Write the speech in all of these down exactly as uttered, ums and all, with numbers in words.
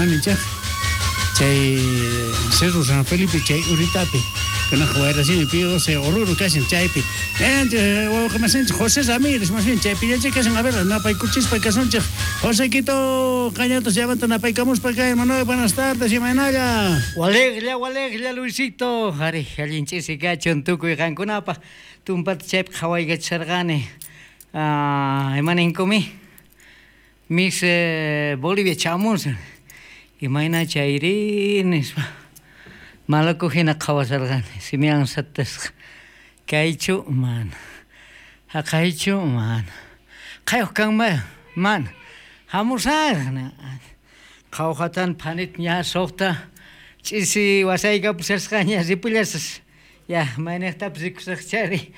Imanichaq chay Cerro San Felipe chay uritapi kunaq wayrasini P doce Oruro kashan chaypi. Wawqi José Ramírez masin chaypi yachay kashan. A ver, napaykuchispa kasunchik. Josequito, qañatas llamanta napaykamuspa kay Manuel, buenas tardes, imaynalla? Waleqlla, waleqlla, Luisito. Ari, allin ch'isi kachun tukuy qankunapaq. Tumpata chaypi qhawaykachisharqani. Ah, imaninkumi? Miss eh, Bolivia chamunsan. Imayna chayri nispa. Malaku hina qhawasharqani. Simian satasqa. Kaychu mana. Haqaychu mana. Qayuq kanman mana. Hamusaq. Qhawqatan phanit ña suqta ch'isi wasaykapusasqaña ripullasas. Ya, mayniqtapis rikusaqchari.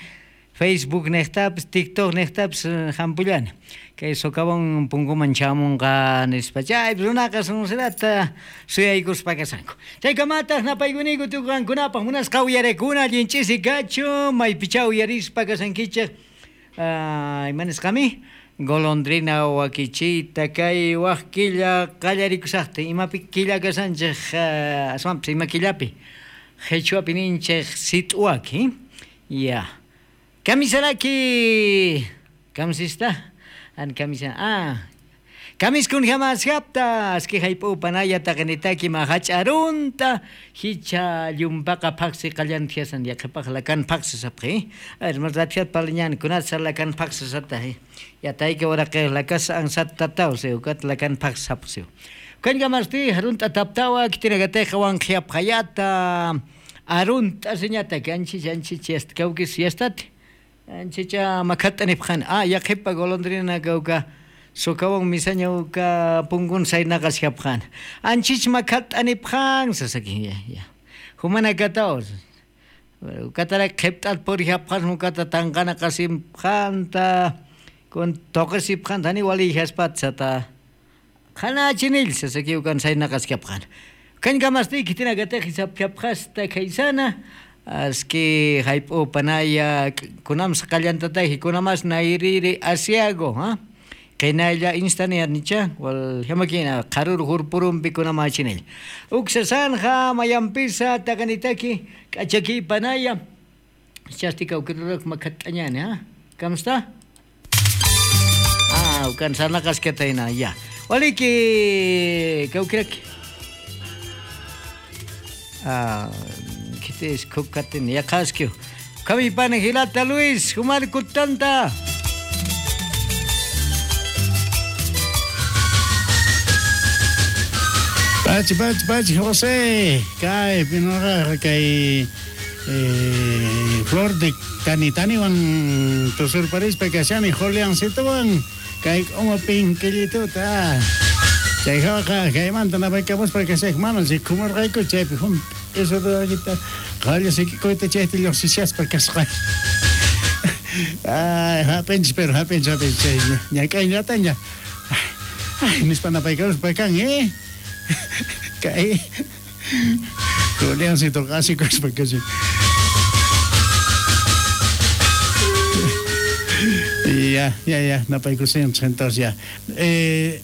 Facebook niqtapis, TikTok niqtapis hampullani. Kay socavón punkuman chamunqa nispa. Chaypi runaqa sunsilata suyaykuspa kashanku. Chaykamataq napaykuniku tukuy qankunapaq munasqa uyarekuna allin ch'isi kachun maypicha uyarispa kashankichik. Ah, ima nisqami? Golondrina wakichita kay waq killa qallarikusaqta imapi killa kashanchik aswanpis ima killapi qhichwapi ninchik sit'uwaki ya. Kamisaraki kamisista an kamisa ah kamiskun hamasqapta aski hayp'upanaya taqinitaki mahach'arunta hicha llumpaqa phaqsi qallantiasan yaqhipaq lakan phaqsisapqi rathiat paliñani kunatsa lakan phaqsisata yatayki waraqi lakas ansatataw siukat lakan phaqsapsiu kankamasti harunta taptawa kitinakatayqa wanqhiapqayata arunta siñata anchich anchich yastkawkis yastati anchicha makhat'anipqani ah yaqhipa golondrina kawka socavón misaña uka punkun saynaqasqapqani anchich makhat'anipqan sasaki ya ya humana kataw ukatara qhipt'at puriyapqan ukata tanqana qasimpqanta kun toqasipqanta ni waliyaspatsata qhanachinil sasaki ukan saynaqasqapqan kankamasti kitinakataq hisapqapqasta kaysana aski hayp'upanaya kunamsa qallantatayki kunamas nayriri asiago ha qinalla instani nicha wal hamakina qarur hurpurumpi kunamachinil uksasanja mayampisa taqanitaki k'achaki panaya chastika ukirurak makhat'añani ha kamsta ah ukan sarnaqasqatayna ya waliki kawkiraki ah kitis kukatin yaqaskiw kamipana hilata Luis humarkutanta. Pachi, pachi, pachi, José. Kay, pinoqa kay eh, Flor de Tanitaniwan tusurparispa kashani Juliancitowan kay uma pinkillituta. Chay hawaqa kaymanta napaykamuspa kashaq mana rikumurqayku chaypi hum eso todavía qalla sikikuyta chayta lluqsishaspa kasqa. Ay, hapinchis pero hapinchis hapinchis ñak'ayllataña. Ay, nispa napaykamuspa kan, eh. Kay Juliancito qasikuspa kashan. Ya, ya, ya, napaykusinchik entonces ya. Eh,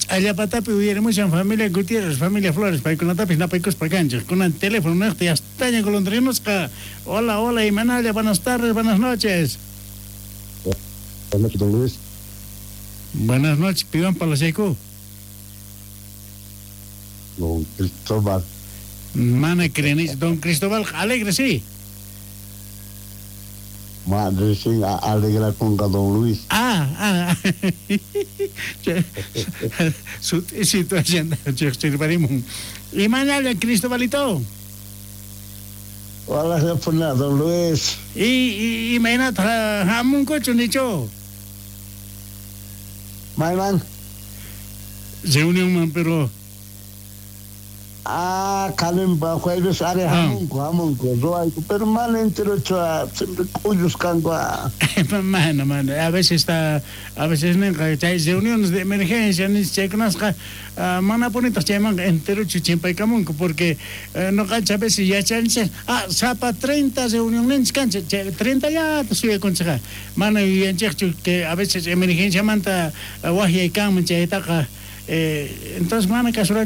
Allapatapi uyarimushan familia Gutiérrez, familia Flores, paykunatapis napaykuspa kanchik. Kunan teléfono niqta ya estaña golondrinusqa. Hola, hola, imanalla, buenas tardes, buenas noches. Buenas noches, don Luis. Buenas noches, piwan parlasayku. Don Cristóbal. Mana creenis, don Cristóbal, alegre, sí. Ma recién alegra con don Luis. Ah, ah. Su situación chirparimun. Y mañana Cristobalito. Hola, don Luis. Y y y mañana hamunkuchu nicho. Mayman. Reunión man, pero Ah, kalimba jueves are hamunku hamunku ruwayku pero mana enterochu siempre k'ullus kanku. Mana mana a veces está a veces ninqa chay reuniones de emergencia chaykunasqa mana punitaq chaymanqa enterochu chimpaykamunku porque noqanchik a veces yachanchik ah sapa treinta reunionninchik kanchik chay treinta llata suyakunchikqa mana yuyanchikchu que a veces emergenciamanta waqyay kanman chaytaqa eh, entonces mana kasuranchik.